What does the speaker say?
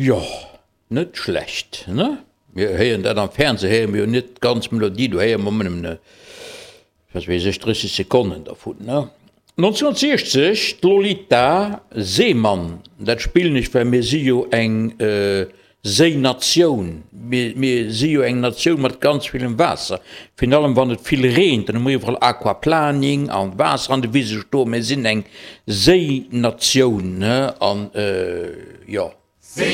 Jo, net schlecht, ne? Mir héieren dat am Fernseh, héiere mir jo net d'ganz Melodie, do héiere mer nëmmen, wat weess ech, 30 Sekonnen dervun, ne? 1960, d'Lolita Seemann, dat spillen ech, well mir si jo eng Séinatioun. Mir, mir si jo eng Natioun mat ganz villem Waasser, virun allem wann et vill reent, dann hu mir iwwerall Aquaplaning an Waasser an de Wise stoen. Mir sinn eng Séinatioun, ne? An, jo.